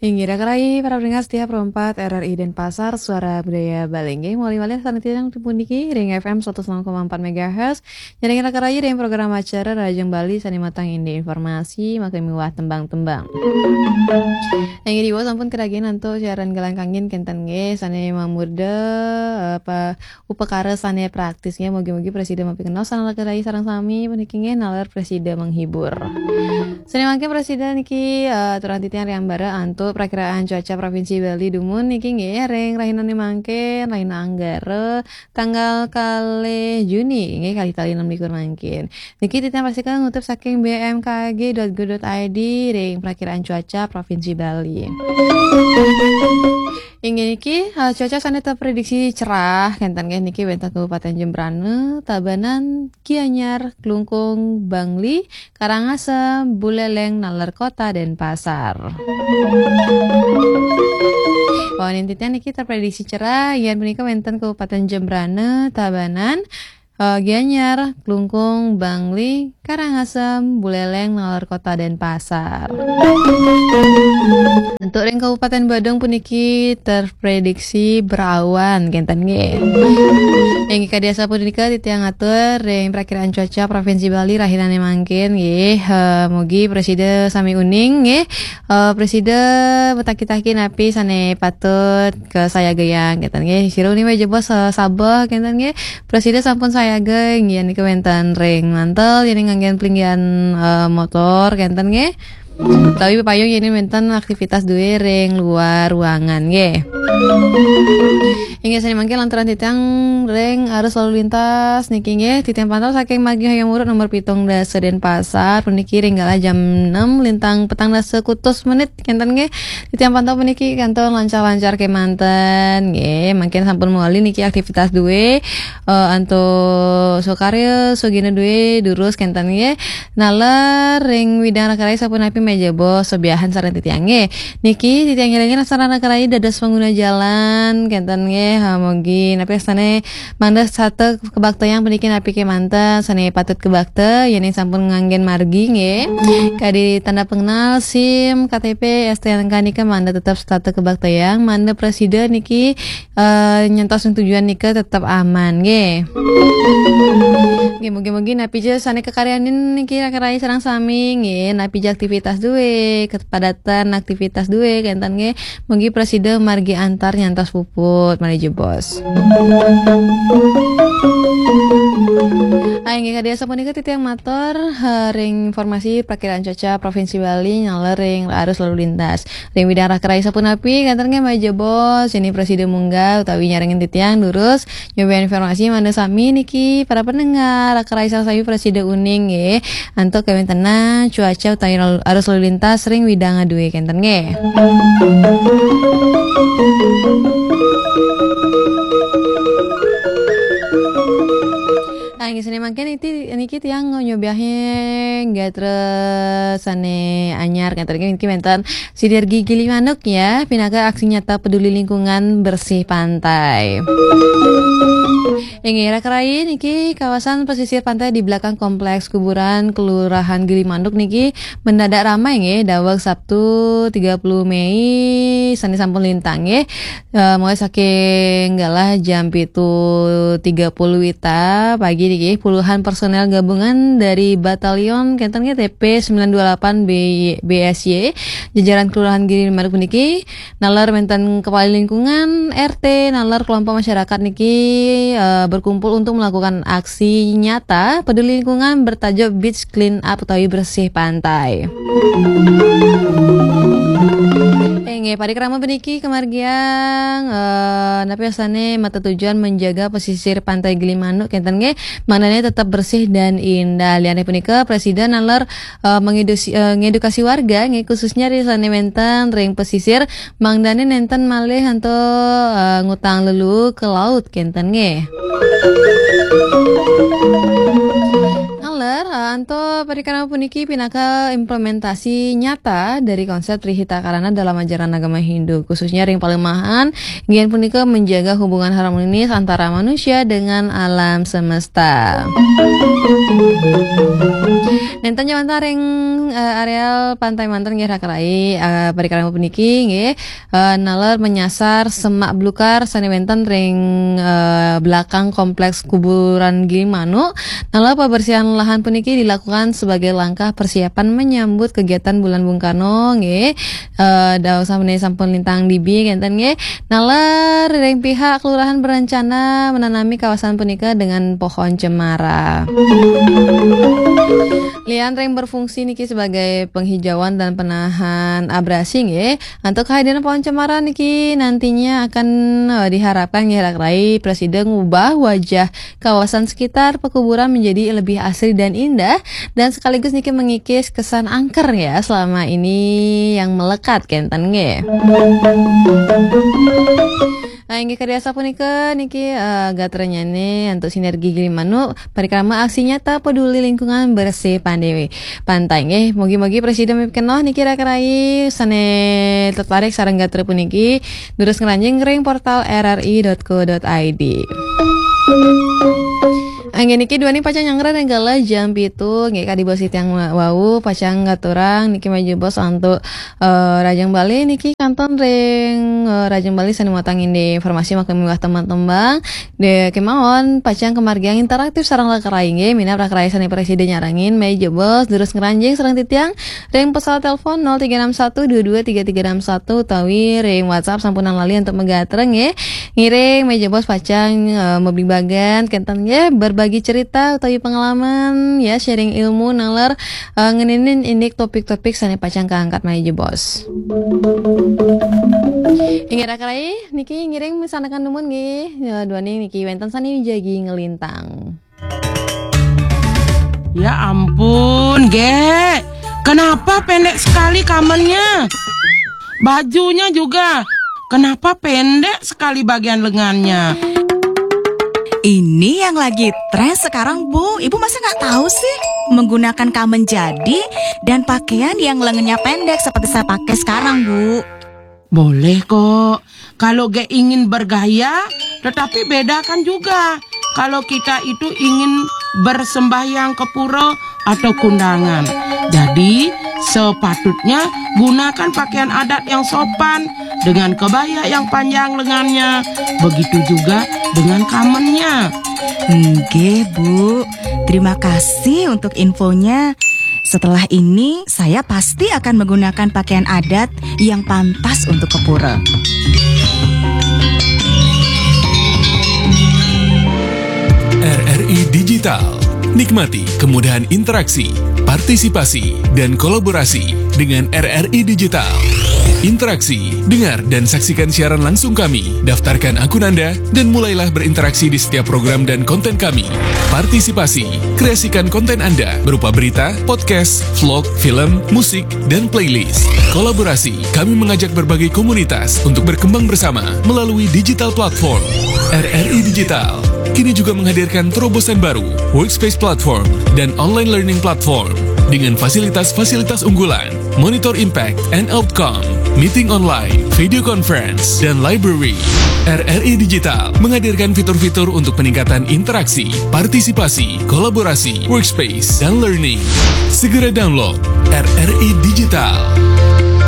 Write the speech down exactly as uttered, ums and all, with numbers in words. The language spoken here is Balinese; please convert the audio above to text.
Inggih, raka rayi para pendengar setia Pro empat R R I Denpasar, Suara Budaya Bali. Inggih, malih malih sané tiang puniki ring F M seratus enam koma empat megahertz. Ngiring raka rayi ring program acara Rahajeng Bali sané matang indik informasi, maka miwah tembang-tembang. Inggih, diwau sampun kadagian antuk siaran galang kangin kénten nggih, sané mamurda, eh, apa, upakara sané praktis nggih. Mugi-mugi prasida mapikantos sareng raka rayi sareng sami puniki nggih, naler prasida menghibur. Sané mangkin prasida niki, eh, aturang titiang ring ambara antuk prakiraan cuaca Provinsi Bali dumun niki nggih, ring rahinané mangkin, rahina Anggara, tanggal kalih Juni nggih, kalih tali enam likur mangkin. Niki titiang pastika ngutup saking B M K G dot go dot I D ring prakiraan cuaca Provinsi Bali. Inggih niki, eh, cuaca sané terprediksi cerah, kénten nggih niki wénten Kabupaten Jembrana, Tabanan, Gianyar, Klungkung, Bangli, Karangasem, Buleleng, naler Kota Denpasar. Wau titiang niki terprediksi cerah, yén punika wénten Kabupaten Jembrana, Tabanan, eh, Gianyar, Klungkung, Bangli, Karangasem, Buleleng, naler Kota Denpasar. Antuk ring Kabupaten Badung puniki terprediksi berawan, kénten nggih. Inggih kadi asapunika titiang atur ring prakiraan cuaca Provinsi Bali rahinané mangkin nggih. Eh, mugi prasida sami uning nggih. Eh, prasida mataki-taki napi sané patut kasayagayang, kénten nggih. Sira uning malih jebos, eh, sabeh, kénten nggih. Prasida sampun sayaga, inggih nika wénten ring mantel, yén nganggén plinggiran, eh, motor, kénten nggih. Utawi payung yén wénten aktivitas duwé ring luar ruangan nggih. Inggih sané mangkin lantaran titiang ring arus lalu lintas niki nggih, titiang pantau saking Margi Hayam Wuruk nomor pitung dasa Denpasar, puniki ring galah jam enam lintang petang dasa kutus menit, kénten nggih. Titiang pantau puniki kantun lancar-lancar kémanten nggih. Mangkin sampun mawali niki aktivitas duwé, eh, antuk sukarya, sugina duwé, durus kénten nggih. Naler ring widang raka rayi sapunapi malih jebos, sobiahan sareng titiang nggih. Niki titiang ngilingin sareng raka rayi dados pangguna jalan, kénten nggih. Ha, mugi napi sané mangda setata kabaktayang puniki napi kémanten, sané patut kabakta, yén sampun nganggén margi nggih. Kadi tanda pengenal, SIM, K T P, S T N K nika mangda tetep setata kabaktayang, mangda prasida niki eh, nyantos ring tujuan nika tetep aman nggih. Nggih, mugi-mugi napi ja sané kakaryanin niki raka rayi sareng sami nggih, napi ja aktivitas duwé, kepadatan aktivitas duwé kénten nggih. Mugi prasida margi antar nyantos puput malih jebos. Ah, inggih kadi asapunika titiang matur, eh, ring informasi prakiraan cuaca Provinsi Bali naler ring arus lalu lintas. Ring widang raka rayi sapunapi, kénten nggih malih jebos, yén prasida munggah utawi nyarengin titiang durus, nyobiahang informasi mangda sami niki para pendengar, raka rayi sareng sami prasida uning nggih. Antuk kawéntenan cuaca utawi lalu, arus lalu lintas ring widang duwé kénten nggih. Ah, inggih sané mangkin niki, niki tiang nyobiahang gatra sané anyar, kénten nggih, niki wénten Sinergi Gilimanuk ya, pinaka aksi nyata peduli lingkungan bersih pantai. Inggih, raka rayi niki kawasan pesisir pantai di belakang kompleks kuburan Kelurahan Gilimanuk niki mendadak ramai nggih, daweg Sabtu tiga puluh Mei sané sampun lintang nggih. Eh, mulai saking galah jam pitu tiga puluh wita pagi niki, puluhan personel gabungan dari Batalion kénten nggih T P sembilan dua delapan B-, B S Y, jajaran Kelurahan Gilimanuk puniki, naler wénten kepala lingkungan, R T, naler kelompok masyarakat niki, eh, berkumpul untuk melakukan aksi nyata peduli lingkungan bertajuk Beach Clean Up utawi bersih pantai. Inggih, parikrama puniki kamargiang, eh, napi wastané mata tujuan menjaga pesisir Pantai Gilimanuk kénten nggih, mangdané tetap bersih dan indah. Liané punika, prasida naler, eh, mengedusi-, eh, ngedukasi warga nggih, khususnya ri sané wénten ring pesisir, mangdané nénten malih antuk, eh, ngutang leluu ke laut kénten nggih. Naler Antuk parikrama puniki pinaka implementasi nyata dari konsep Tri Hita Karana dalam ajaran agama Hindu, khususnya ring palemahan, inggih punika menjaga hubungan harmonis antara manusia dengan alam semesta. Nenten wantah ring, eh, areal Pantai Manten nggih, Raka Rai, eh, parikrama puniki nggih, eh, naler menyasar semak belukar sane wenten ring, eh, belakang kompleks kuburan Gili Manuk. Naler pembersihan lahan puniki dilakukan sebagai langkah persiapan menyambut kegiatan Bulan Bung Karno nggih. Eh, dawuh sampune sampun lintang dibi kenten nggih. Naler ring pihak kelurahan berencana menanami kawasan punika dengan pohon cemara. Lian ring berfungsi niki sebagai penghijauan dan penahan abrasi nggih. Antuk kehadiran pohon cemara niki nantinya akan, eh, diharapkan nggih, Raka Rai, prasida ngubah wajah kawasan sekitar pekuburan menjadi lebih asri dan indah, dan sekaligus niki mengikis kesan angker ya selama ini yang melekat kenten nggih. Nah, inggih kadi asapunika niki, eh, gatranyane antuk Sinergi Gili Manuk, parikrama aksi nyata peduli lingkungan bersih pantai, pantai nggih. Mugi-mugi prasida mipkenoh niki, Raka Rai, sane tertarik sareng gatra puniki, durus ngranjing ring portal R R I dot co dot I D. Inggih niki duaning pacang nyanggra ring galah jam pitu nggih, kadi bos titiang wa-, wau pacang ngaturang niki malih jebos antuk, eh, Rajang Bali niki kantun ring, eh, Rajang Bali sane mautang indik informasi maka miwah tembang-tembang. De kemawon pacang kamargiang interaktif sareng Raka Rai nggih, minab Raka Rai sane prasida nyarengin malih jebos durus ngranjing sareng titiang ring pesawat telepon nol tiga enam satu dua dua tiga tiga enam satu utawi ring WhatsApp sampunang lali antuk magatra nggih. Ngiring malih jebos pacang, eh, mabligbagan kenten nggih, berbagi cerita utawi pengalaman ya, sharing ilmu naler, eh, ngeninin indik topik-topik sane pacang kaangkat malih jebos. Inggih Raka Rai, niki ngiring misandekan dumun nggih. Ya, duaning niki wenten sane jagi ngelintang. Ya ampun, Gek. Kenapa pendek sekali kamennya? Bajunya juga. Kenapa pendek sekali bagian lengannya? Ini yang lagi tren sekarang, Bu. Ibu masa nggak tahu sih? Menggunakan kamen jadi dan pakaian yang lengannya pendek seperti saya pakai sekarang, Bu. Boleh kok. Kalau Gek ingin bergaya, tetapi bedakan juga. Kalau kita itu ingin bersembahyang ke pura atau kundangan. Jadi, sepatutnya gunakan pakaian adat yang sopan dengan kebaya yang panjang lengannya. Begitu juga dengan kamennya. Nggih, Bu. Terima kasih untuk infonya. Setelah ini, saya pasti akan menggunakan pakaian adat yang pantas untuk ke pura. R R I Digital. Nikmati kemudahan interaksi, partisipasi, dan kolaborasi dengan R R I Digital. Interaksi, dengar dan saksikan siaran langsung kami. Daftarkan akun Anda dan mulailah berinteraksi di setiap program dan konten kami. Partisipasi, kreasikan konten Anda berupa berita, podcast, vlog, film, musik, dan playlist. Kolaborasi, kami mengajak berbagai komunitas untuk berkembang bersama melalui digital platform. R R I Digital kini juga menghadirkan terobosan baru, Workspace Platform, dan Online Learning Platform dengan fasilitas-fasilitas unggulan, Monitor Impact and Outcome, Meeting Online, Video Conference, dan Library. R R I Digital menghadirkan fitur-fitur untuk peningkatan interaksi, partisipasi, kolaborasi, workspace, dan learning. Segera download R R I Digital.